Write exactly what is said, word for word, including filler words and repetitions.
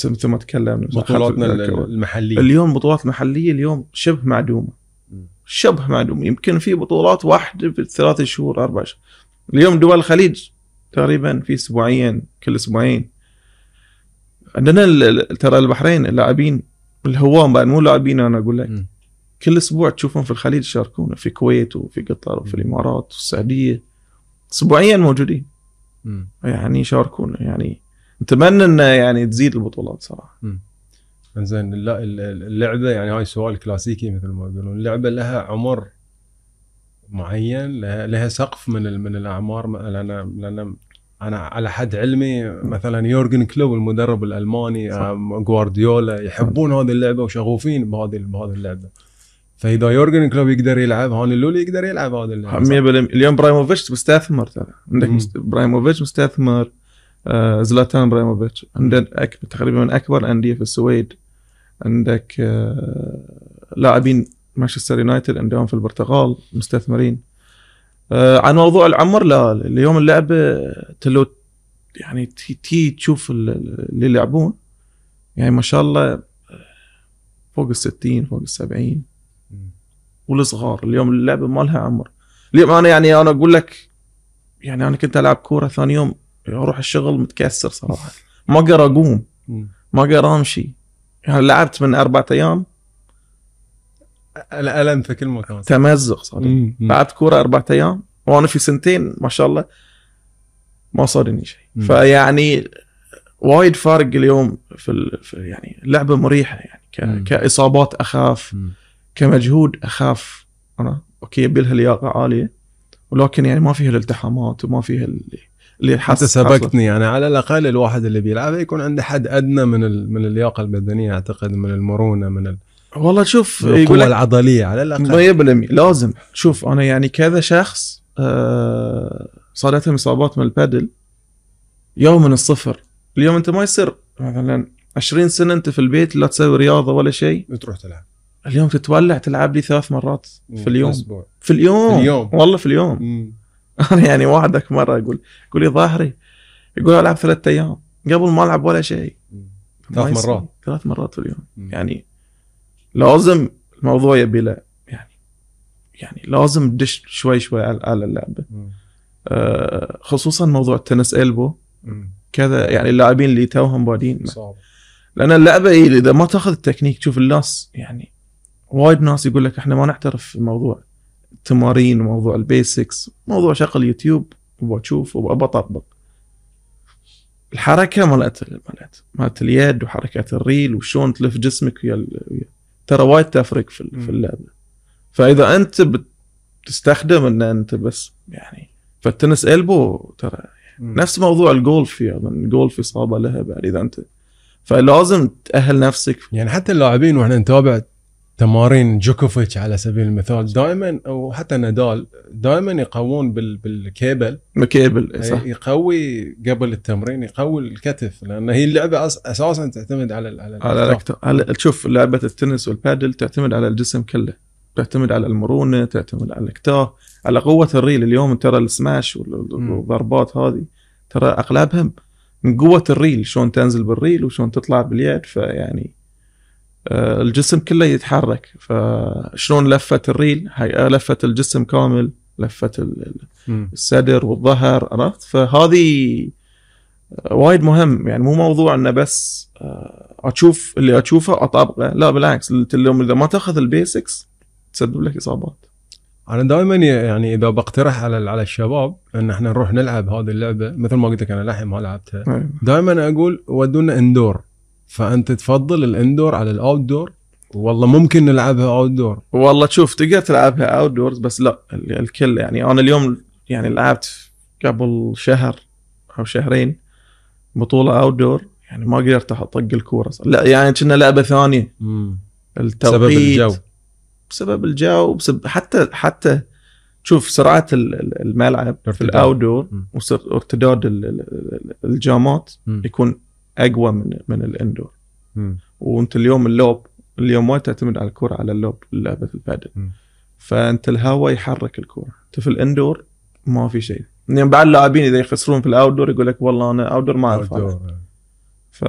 مثل ما تكلمنا بطولاتنا المحلية اليوم بطولات محلية اليوم شبه معدومة شبه معدومة. يمكن في بطولات واحدة في ثلاثة شهور أربع شهور. اليوم دول الخليج تقريبا في أسبوعين كل أسبوعين. عندنا ترى البحرين اللاعبين الهوام بعد مو لاعبين أنا أقول لك م. كل أسبوع تشوفهم في الخليج يشاركون في الكويت وفي قطر وفي الإمارات والسعودية أسبوعيا موجودين م. يعني يشاركون. يعني نتمنى إنه يعني تزيد البطولات صراحة. زين اللعبة يعني هاي سؤال كلاسيكي مثل ما يقولون اللعبة لها عمر معين لها, لها سقف من من الأعمار. لأن لأن أنا على حد علمي مثلا يورجن كلوب المدرب الألماني غوارديولا يحبون هذه اللعبة وشغوفين بهذه بهذه اللعبة. فإذا يورجن كلوب يقدر يلعب هاني لولي يقدر يلعب هذه اللعبة. اليوم برايموفيتش مستثمر ترى عندك مست... برايموفيتش مستثمر. آه زلاتان برايموفيتش عندك أك... تقريبا من أكبر أندية في السويد. عندك آه لاعبين مانشستر يونايتد عندهم في البرتغال مستثمرين. آه عن موضوع العمر لا اليوم اللعبة تلو يعني تي, تي تشوف اللي يلعبون يعني ما شاء الله فوق الستين فوق السبعين والصغار. اليوم اللعبة ما لها عمر. اليوم أنا يعني أنا أقول لك يعني أنا كنت ألعب كورة ثاني يوم أروح الشغل متكسر صراحة ما أقدر أقوم ما أقدر أمشي. يعني لعبت من أربعة أيام الألم في كل مكان تمزق صار. لعبت كورة أربعة أيام وأنا في سنتين ما شاء الله ما صارني شيء. فيعني وايد فارق اليوم في, ال... في يعني اللعبة مريحة يعني ك... كإصابات أخاف م. كمجهود أخاف. أنا أوكي يبيلها لياقة عالية ولكن يعني ما فيها الالتحامات وما فيها اللي اللي حتى سبقتني يعني على الأقل الواحد اللي بيلعب يكون عنده حد أدنى من ال... من اللياقة البدنية أعتقد من المرونة من ال... والله شوف القوة العضلية على الأقل مية بالمية لازم. شوف أنا يعني كذا شخص أه... صارتهم إصابات من البادل يوم من الصفر. اليوم أنت ما يصير مثلا عشرين سنة أنت في البيت لا تسوي رياضة ولا شيء تروح تلعب. اليوم تتولع تلعب لي ثلاث مرات في اليوم أسبوع. في اليوم في اليوم والله في اليوم. أنا يعني واحدك مرة أقول يقول لي ظاهري يقول ألعب ثلاثة أيام قبل ما ألعب ولا شيء ثلاث مرات ثلاث مرات في اليوم. مم. يعني لازم الموضوع يبي له يعني يعني لازم تدش شوي شوي على اللعبة. آه خصوصا موضوع التنس إلبو كذا يعني اللاعبين اللي توهم بادين صعب. لأن اللعبة إيه إذا ما تأخذ التكنيك تشوف الناس يعني وايد ناس يقول لك إحنا ما نعترف في موضوع التمارين وموضوع البيسكس موضوع شغل يوتيوب وبشوف وبطبق الحركة مالت مالت مالت اليد وحركات الريل وشون تلف جسمك ويا ترى وايد تفرق في في اللعبة. فإذا أنت بتستخدم إن أنت بس يعني فالتنس إلبو ترى نفس موضوع الجولف يعني الجولف إصابة لها بعد إذا أنت فلازم تأهل نفسك. يعني حتى اللاعبين وإحنا نتابع تمارين جوكوفيتش على سبيل المثال دائما أو حتى نادال دائما يقوون بال بالكيبل مكيبل صح. يقوي قبل التمرين يقوي الكتف لأن هي اللعبة أساسا تعتمد على على على, على تشوف لعبة التنس والبادل تعتمد على الجسم كله تعتمد على المرونة تعتمد على الكتاف على قوة الريل. اليوم ترى السماش والضربات هذه ترى أغلبها من قوة الريل شلون تنزل بالريل وشلون تطلع باليد. فيعني آه الجسم كله يتحرك فشلون لفة الريل هاي لفة الجسم كامل لفة الصدر والظهر عرفت. فهذه وايد مهم يعني مو موضوع انه بس آه اشوف اللي اشوفه اطبقه لا بالعكس اليوم اذا ما تاخذ البيسكس تسبب لك اصابات. انا دائما يعني اذا بقترح على على الشباب ان احنا نروح نلعب هذه اللعبه مثل ما قلت لك انا لحين ما لعبتها دائما اقول ودونا اندور. فانت تفضل الاندور على الاوت دور والله ممكن نلعبها اوت دور. والله تشوف تقدر تلعبها اوت دورز بس لا الكل يعني انا اليوم يعني لعبت قبل شهر او شهرين بطوله اوت دور يعني ما قدرت اطق الكوره لا يعني كنا لعبه ثانيه. امم التوقيت بسبب الجو بسبب الجو بسبب حتى حتى تشوف سرعه الملعب في الاوت دور وارتداد الجامات يكون اقوى من من الاندور. وانت اليوم اللوب اليوم ما تعتمد على الكره على اللوب لعبه البادل فانت الهواء يحرك الكره. انت في الاندور ما في شيء يعني بعد اللاعبين اذا يخسرون في الاوت دور يقول لك والله انا اوت دور ما اعرف ف